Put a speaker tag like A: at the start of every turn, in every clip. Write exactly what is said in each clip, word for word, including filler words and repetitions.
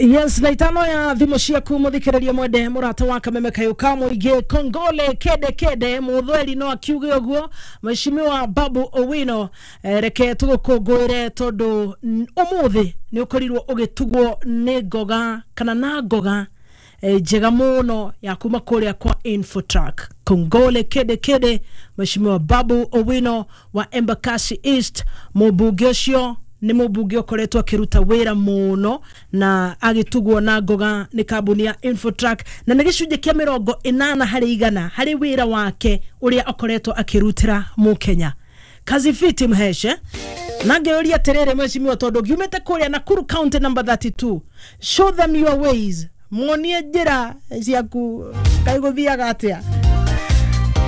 A: Yes, na itano ya thimũ ciaku mũthikĩrĩria mwende mũrata wa Kameme Kayũ ka mũingĩ. Kongole kede kede mũthweri no akiuge ũguo Mheshimiwa Babu Owino. eh, reke tũgũkũngũĩre tondũ ũmũthĩ nĩ ũkorirwo ũgĩtugwo nĩ ngoga kana na ngoga eh, njega mũno ya kuma kũrĩa kwa Infotrack. Kongole kede kede Mheshimiwa Babu Owino wa Embakasi East. Mũmbunge ũcio nĩ mũmbunge ũkoretwo akĩruta wĩra mũno na agĩtugwo na ngoga nĩ kambuni ya Infotrack, na nĩ gĩcunjĩ kĩa mĩrongo ĩnana harĩ igana harĩ wĩra wake ũrĩa akoretwo akĩrutĩra mũkenya. Kazi fiti mheshe. Na ngĩũria atĩrĩrĩ mheshimiwa, tondũ ngiumĩte kũrĩa Nakuru County number thirty-two, show them your ways, muonie njĩra ciaku kaĩ gũthiaga atĩa.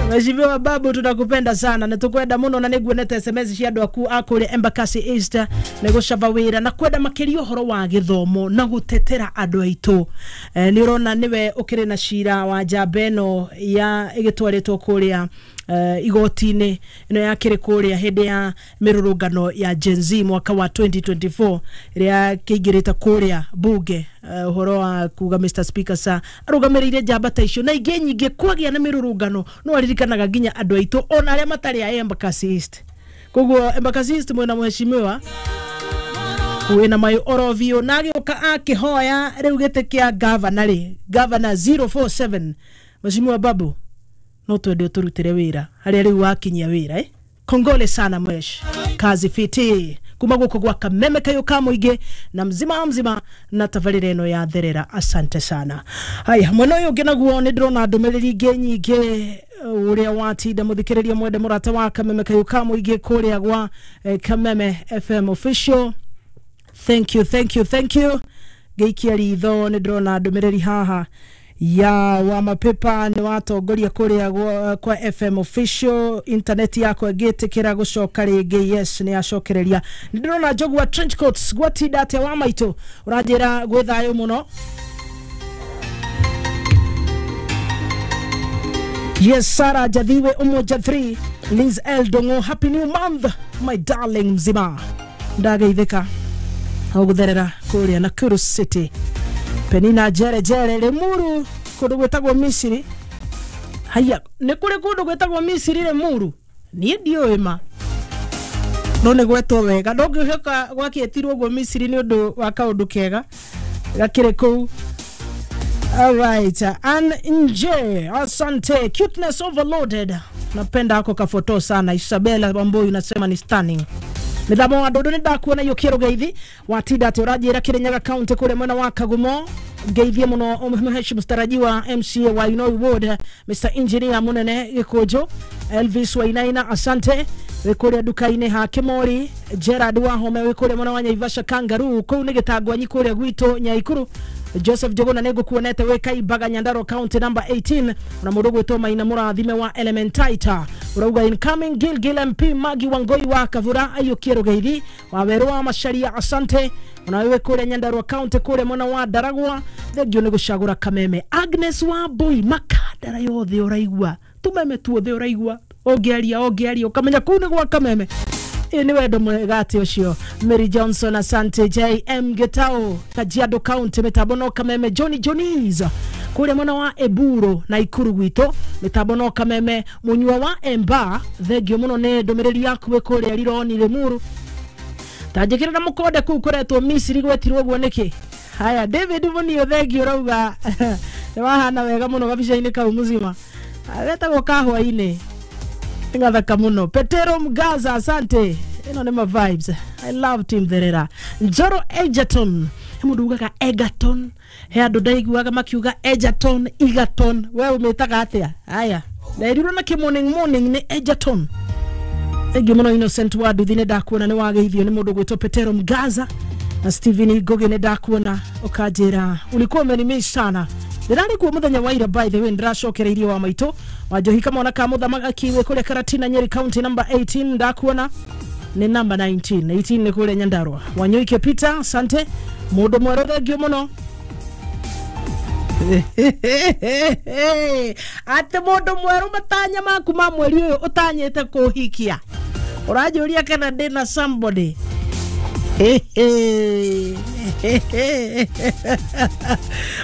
A: Mheshimiwa Babu, tunakupenda sana na tukwenda muno, na nĩguonete S M S cia andũ aku a kũrĩa Embakasi East nĩ gũcaba wĩra na kwenda makĩria ũhoro wa gĩthomo na gũtetera andũ aitũ. E, nĩ ũrona nĩwe ũkĩrĩ na cira wa njamba ĩno ya ĩgĩtwarĩtwo kũrĩa uh, igoti-inĩ ĩno yakĩrĩ kũrĩa hĩndĩ ya mĩrũrũngano ya Gen Z mwaka wa twenty twenty-four ĩrĩa kĩingĩrĩte kũrĩa bunge, ũhoro uh, wa kuga Mister Speaker sa arũgamĩrĩire njamba ta icio na ingĩ nyingĩ. Kwagĩa na mĩrũrũngano no aririkanaga nginya andũ aitũ ona arĩa matarĩ a Embakasi East. Koguo Embakasi East mwena mheshimiwa wĩna mayũ oro biũ, na agĩũka akĩhoya rĩu gĩtĩ kĩa gavana rĩ, gavana zero four seven. Mheshimiwa Babu, no twende ũtũrutĩre wĩra harĩa rĩu wakinyia wĩra eh? Kongole sana mwesh, kazi fiti kuma guko gwa Kameme Kayũ ka mũingĩ na mzima mzima na tabarĩra ĩno ya therera. Asante sana. Haya, mwena ũyũ ũngĩ naguo nĩ ndĩrona ndũmĩrĩri ingĩ nyingĩ ũrĩa watinda mũthikĩrĩria mwende mũrata wa Kameme Kayũ ka mũingĩ kũrĩa gwa eh, Kameme F M official. Thank you, thank you, thank you. Ngĩikia ritho nĩ ndĩrona ndũmĩrĩri haha ya wa mapepa nĩ watongoria kũrĩa kwa F M official. Internet yakwa ĩngĩtĩkĩra gũcoka rĩngĩ, yes, nĩ yacokereria. Nĩ ndĩrona njogu wa trench coats gwatinda atĩa wa maitũ, ũranjĩra gwĩ thayũ mũno. Yes, Sarah Jathiwe Umoja three, Liz L Dongo, happy new month my darling mzima. Ndageithĩka gũtherera kũrĩa Nakuru City. Penina Jere Jere Limuru kũndũ gwĩtagwo Misiri. Haya, nĩ kũrĩ kũndũ gwĩtagwo Misiri Limuru? Niĩ ndiũĩ ma, no nĩ gwetwo wega. Ndũngĩhoka gwakĩetirwo ũguo Misiri nĩ ũndũ wa kaũndũ kega gakĩrĩ kũu. All right, Ann Nje, asante. Cuteness overloaded, napenda hako kafoto sana. Isabella Wambui unasema ni stunning. Mithamo wa ndundu nĩ ndakuona yũkĩrwo geithi watinda atĩ ũranjĩra Kirinyaga County kũrĩa mwena wa Kagumo. Ngeithie mũno mheshimiwa mstarajiwa M C A wa Inoi Ward Mister Engineer Munene Gĩkũnjũ, Elvis Wainaina, asante. Wĩ kũrĩa nduka-inĩ ha Kĩmori, Gerard Wahome wĩ kũrĩa mwena wa Naivasha Kangaroo, kũu nĩ Gĩtangwanyi kũrĩa gwitũ Nyaikuru. Joseph Jogona nĩ ngũkuonete wĩ Kaimbaga Nyandarua County number eighteen, na mũndũ gwĩtwo Maina Mũrathime wa Elementaita. Urauga incoming Gilgil M P Magi Wangoi wa Kavura aiyũkie rũgeithi wa werũ wa Macharia, asante. Ona wewe kũrĩa Nyandarua County kũrĩa mwena wa Ndaragwa, thengio nĩ gũcagũra Kameme. Agnes Wambui, makandara yothe ũraigua, tumeme tuothe ũraigua, ũngĩaria ũngĩaria ũkamenya kũu nĩ gwa Kameme. Ĩ nĩ wendo mwega atĩ ũcio. Mary Johnson, asante. J M Getao, Kajiado County, mĩtambo no Kameme. Johnny Johnnies kũrĩa mwena wa Eburo na Ikuru gwitũ, mĩtambo no Kameme. Mũnyua wa Emba, thengio mũno nĩ ndũmĩrĩri yaku wĩ kũrĩa Rironi Limuru. Ta njĩkĩrĩra mũkonde kũu kũretwo Misiri gwetirwo ũguo nĩkĩ? Haya, David Munio, thengio, ũrauga nĩ wahana wega mũno gabica-inĩ kau mzima, getagwo kahũa-inĩ, ngathaka mũno. Petero Mgaza, asante. Ĩno nĩ ma vibes. I love team Therera. Njoro Egerton, he mũndũ ugaga Egerton, he andũ ndaiguaga makiuga Egerton, Egerton, we ũmĩtaga atĩa? Haya, nderirwo na kĩ morning morning nĩ Egerton. Thank you mũno Innocent wa Nduthi, nĩ ndakuona nĩ wageithio nĩ mũndũ gwĩtwo Petero Mgaza na Steven Ngugi, nĩ ndakuona ũkanjĩra ulikuwa umenimiss sana. Ndĩrarĩ kuo mũthenya wa ira, by the way, ndĩracokereirie wa maitũ wa Njohi kamwana ka mũthamaki wĩ kũrĩa Karatina Nyeri County number eighteen, ndakuona nĩ number nineteen, eighteen nĩ kũrĩa Nyandarua. Wanyoike Peter, asante. Mũndũ mwerũ, thengio mũno. Atĩ mũndũ mwerũ matanya maku ma mweri ũyũ ũtanyĩte kũhikia, ũranjũria kana ndĩna somebody.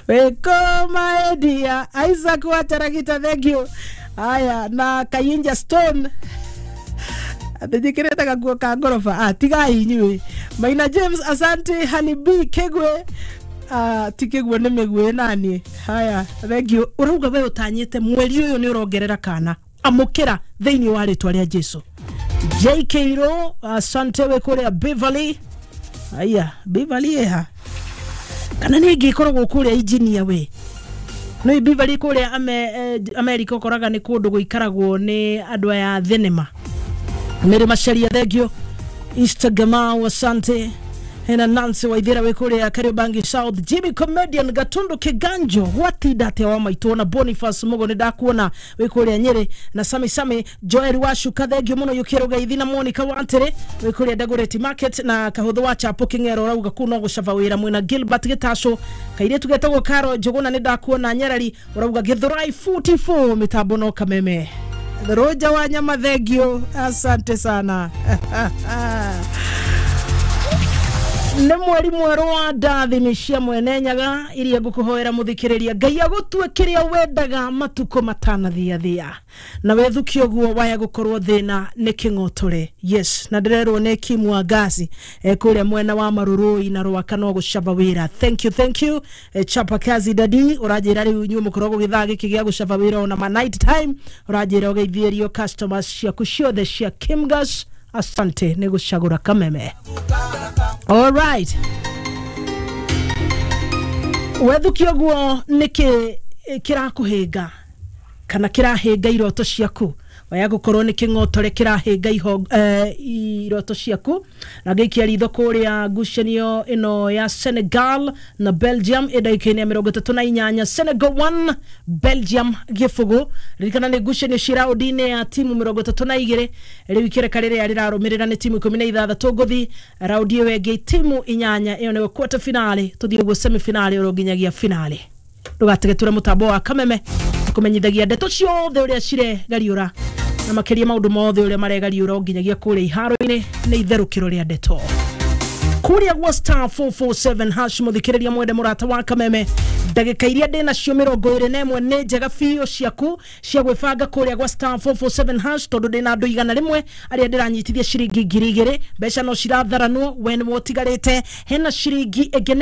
A: Wekoma Edia Isaac Wataragita, thank you. Aya na Kayinja Stone athijikirete gakuo ka ngoroba. Ah, tigai inyuĩ. Maina James, asante. Hani B Kegwe, ah, ti Kegwe nĩ mĩgwe nani. Haya, thank you. Ũrauga we ũtanyĩte mweri ũyũ nĩ ũrongerera kana amũkĩra thĩinĩ wa rĩtwa rĩa Jesu. J K Ro, asante we kũrĩa Beverly. Aya, Beverly eha kana nĩ ĩngĩkoragwo kũrĩa engineer we no Beverly kũrĩa ame, eh, America ũkoraga nĩ kũndũ gũikaragwo nĩ andũ aya thenema. Mary Macharia, thank you. Instagram, asante. Hena Nancy Waithira we kũrĩa Kariobangi South. Jimmy Comedian Gatundu Kiganjo gwatinda atia wa maitũ na Boniface Mugo nĩ ndakuona wĩ kũrĩa Nyeri na Sami Sami Joel Washuka, thank you mũno. Yukiro Gaithi na Monica Wantere wĩ kũrĩa Dagoretti Market na Kahũthũ wa Chapo King'ero rauga kuu no gũcaba wĩra mwena Gilbert Gĩtacũ kairĩtu getagwo Karo Njũgũna nĩ ndakuona Nyarari ũrauga Gĩthũrai forty-four mĩtambo no kameme. Roja wa nyama, thank you, asante sana. Nĩ mweri mwerũ wa ndathimi cia mwene nyaga iria ngũkũhoera mũthikĩrĩria Ngai agũtue kĩrĩa wendaga matukũ matanathiathia na wethukia ũguo waya gũkorwo thĩna nĩ kĩng'otore. Yes, na ndĩrerwo nĩ Kim wa Ngasi e kũrĩa mwena wa Marurui na Rwaka no gũcaba wĩra. Thank you, thank you. E, chapa kazi dadi ũranjĩra rĩu inyuĩ mũkoragwo gĩthaa gĩkĩ gĩa gũcaba wĩra ona ma night time ũranjĩra ũgeithĩrio customers ciaku ciothe cia Kimgas. Asante nĩ gũcagũra kameme. All right. Wethukia ũguo nĩkĩ kĩrakũhĩnga kana kĩrahĩnga iroto ciaku waya gũkorwo nĩ kĩng'otore kĩrahĩnga iho, eh, iroto ciaku na ngĩikia ritho kũrĩa ngucanio ĩno ya Senegal na Belgium ĩ ndagĩka-inĩ ya mĩrongo ĩtatũ na inyanya Senegal one Belgium gĩbũgũ. Ririkana nĩ ngucanio ci raũndi-inĩ ya timu mĩrongo ĩtatũ na igĩrĩ rĩu ikereka rĩrĩa rĩrarũmĩrĩra nĩ timu ikũmi na ithathatũ ngũthi raundi ĩyo ĩngĩ timu inyanya ĩyo nĩyo quarter finale tũthiĩ ũguo semi finale oro nginyagia finale. Ndũgategeture mũtambo wa kameme kũmenyithagia ndeto ciothe ũrĩa ciregariũra na makĩria maũndũ mothe ũrĩa maregariũra nginyagia kũrĩa iharo-inĩ nĩ itherũkĩro rĩa ndeto kũrĩa gwa star four four seven hash. Mũthikĩrĩria mwende mũrata wa kameme ndagĩka iria ndĩ nacio mĩrongo ĩrĩ na ĩmwe nĩ njega biũ ciaku cia gwĩbanga kũrĩa gwa star four four seven hash tondũ ndĩ na andũ igana rĩmwe arĩa ndĩranyitithia ciringi ngiri igĩrĩ mbeca no ciratharanwo we nĩwe ũtigarĩte hena ciringi ĩngĩ.